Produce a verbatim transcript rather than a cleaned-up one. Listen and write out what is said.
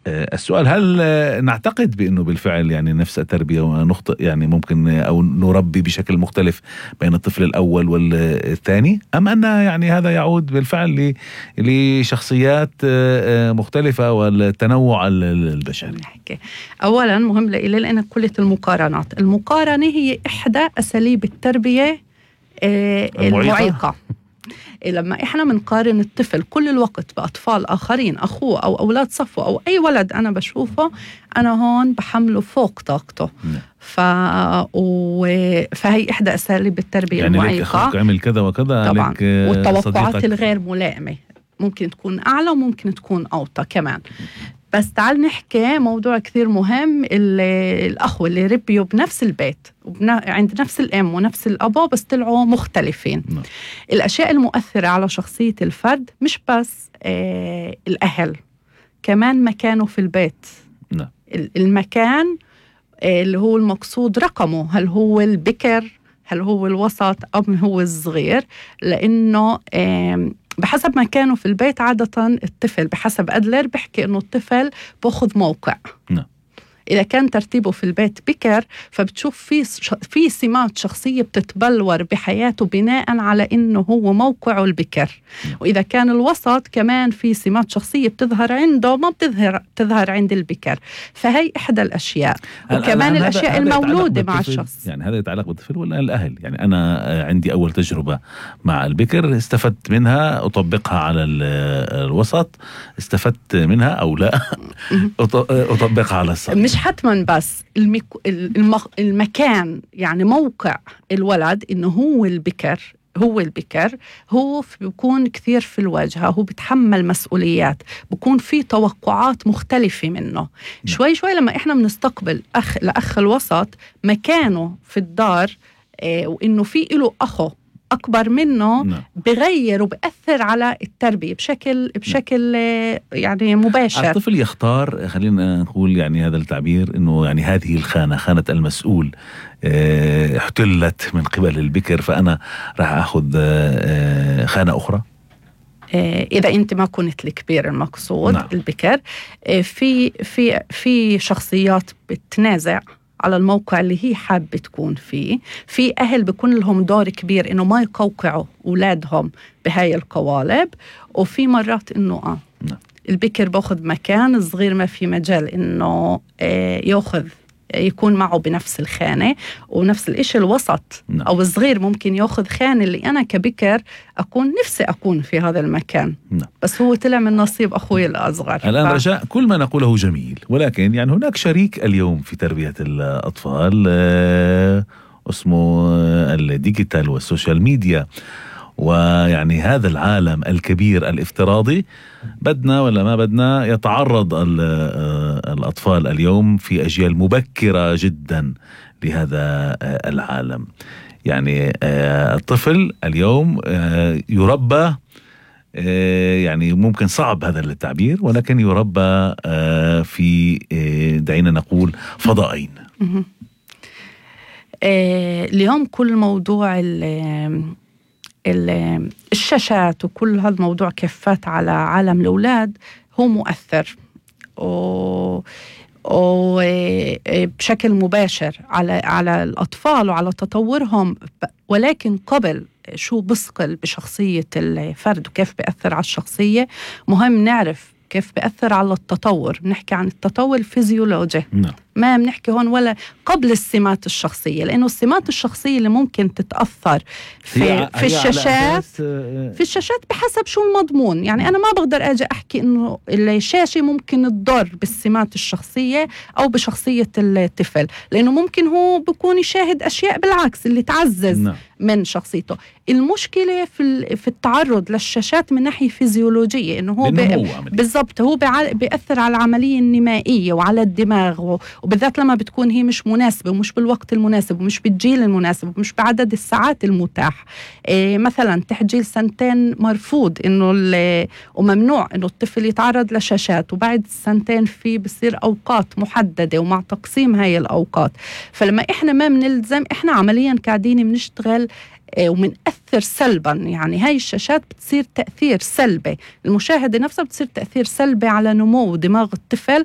السؤال، هل نعتقد بأنه بالفعل يعني نفس التربية ونخطئ يعني ممكن أو نربي بشكل مختلف بين الطفل الأول والثاني، أم أن يعني هذا يعود بالفعل لشخصيات مختلفة والتنوع البشري؟ أولا مهم لإلي لأن كلية المقارنات، المقارنة هي إحدى أساليب التربية المعيقة. لما إحنا منقارن الطفل كل الوقت بأطفال آخرين، أخوه أو أولاد صفوه أو أي ولد أنا بشوفه، أنا هون بحمله فوق طاقته. ف... و... فهي إحدى أساليب التربية يعني المعيقة. لك أخوك عمل كذا وكذا طبعا، والتوقعات صديقك الغير ملائمة ممكن تكون أعلى وممكن تكون أوطى كمان. بس تعال نحكي موضوع كثير مهم، الأخوة اللي ربيوا بنفس البيت وبنا... عند نفس الأم ونفس الأبو بس طلعوا مختلفين. م. الأشياء المؤثرة على شخصية الفرد مش بس آه الأهل، كمان مكانه في البيت. م. المكان آه اللي هو المقصود رقمه، هل هو البكر، هل هو الوسط، أو هو الصغير، لأنه آه بحسب مكانه في البيت. عادة الطفل بحسب أدلر بحكي إنه الطفل بأخذ موقع. نعم. إذا كان ترتيبه في البيت بكر، فبتشوف في في سمات شخصية بتتبلور بحياته بناء على إنه هو موقعه البكر. نعم. وإذا كان الوسط كمان في سمات شخصية بتظهر عنده ما بتظهر تظهر عند البكر. فهي إحدى الأشياء. وكمان الأشياء المولودة مع الشخص. يعني هذا يتعلق بالطفل ولا الأهل؟ يعني أنا عندي أول تجربة مع البكر استفدت منها أطبقها على الوسط، استفدت منها أو لا أطبقها على الصغير. مش حتما بس المك... المخ... المكان، يعني موقع الولد إنه هو البكر، هو البكر هو بيكون كثير في الواجهة، هو بيتحمل مسؤوليات، بيكون في توقعات مختلفة منه. م. شوي شوي لما إحنا بنستقبل أخ لأخ الوسط مكانه في الدار، إيه، وإنه في له أخو أكبر منه، م. بغير وبأثر على التربية بشكل بشكل يعني مباشر. الطفل يختار، خلينا نقول يعني هذا التعبير، إنه يعني هذه الخانة، خانة المسؤول اه احتلت من قبل البكر، فأنا راح أخذ اه خانة أخرى. إذا أنت ما كنت الكبير المقصود. نعم. البكر في في في شخصيات بتنازع على الموقع اللي هي حابة تكون فيه. في أهل بيكون لهم دور كبير إنه ما يقوقعوا أولادهم بهاي القوالب، وفي مرات إنه آه نعم. البكر باخذ مكان الصغير، ما في مجال إنه آه يأخذ يكون معه بنفس الخانة. ونفس الإشي الوسط. نعم. أو الصغير ممكن يأخذ خانة اللي أنا كبكر أكون نفسي أكون في هذا المكان. نعم. بس هو طلع من نصيب أخوي الأصغر. الآن ف... رجاء، كل ما نقوله جميل، ولكن يعني هناك شريك اليوم في تربية الأطفال آه اسمه الديجيتال والسوشيال ميديا، ويعني هذا العالم الكبير الافتراضي بدنا ولا ما بدنا يتعرض الأطفال اليوم في أجيال مبكرة جدا لهذا العالم. يعني الطفل اليوم يربى، يعني ممكن صعب هذا التعبير، ولكن يربى في دعينا نقول فضائين. اليوم كل موضوع الشاشات وكل هذا الموضوع كفات على عالم الأولاد هو مؤثر وبشكل مباشر على على الأطفال وعلى تطورهم. ولكن قبل شو بثقل بشخصية الفرد وكيف بيأثر على الشخصية، مهم نعرف كيف بيأثر على التطور. بنحكي عن التطور الفيزيولوجي. نعم. ما بنحكي هون ولا قبل السمات الشخصية، لأنه السمات الشخصية اللي ممكن تتأثر في, هي في هي الشاشات في الشاشات بحسب شو المضمون. يعني أنا ما بقدر أجي أحكي إنه الشاشة ممكن تضر بالسمات الشخصية أو بشخصية الطفل، لأنه ممكن هو بيكون يشاهد أشياء بالعكس اللي تعزز نعم. من شخصيته. المشكلة في في التعرض للشاشات من ناحية فيزيولوجية، إنه هو بالضبط هو بيأثر على العملية النمائية وعلى الدماغ، وبالذات لما بتكون هي مش مناسبة ومش بالوقت المناسب ومش بالجيل المناسب ومش بعدد الساعات المتاح. إيه مثلا تحت جيل سنتين مرفوض إنه وممنوع إنه الطفل يتعرض لشاشات، وبعد سنتين في بصير أوقات محددة ومع تقسيم هاي الأوقات. فلما إحنا ما بنلزم، إحنا عمليا قاعدين بنشتغل ومنأثر سلبا. يعني هاي الشاشات بتصير تأثير سلبي، المشاهدة نفسها بتصير تأثير سلبي على نمو دماغ الطفل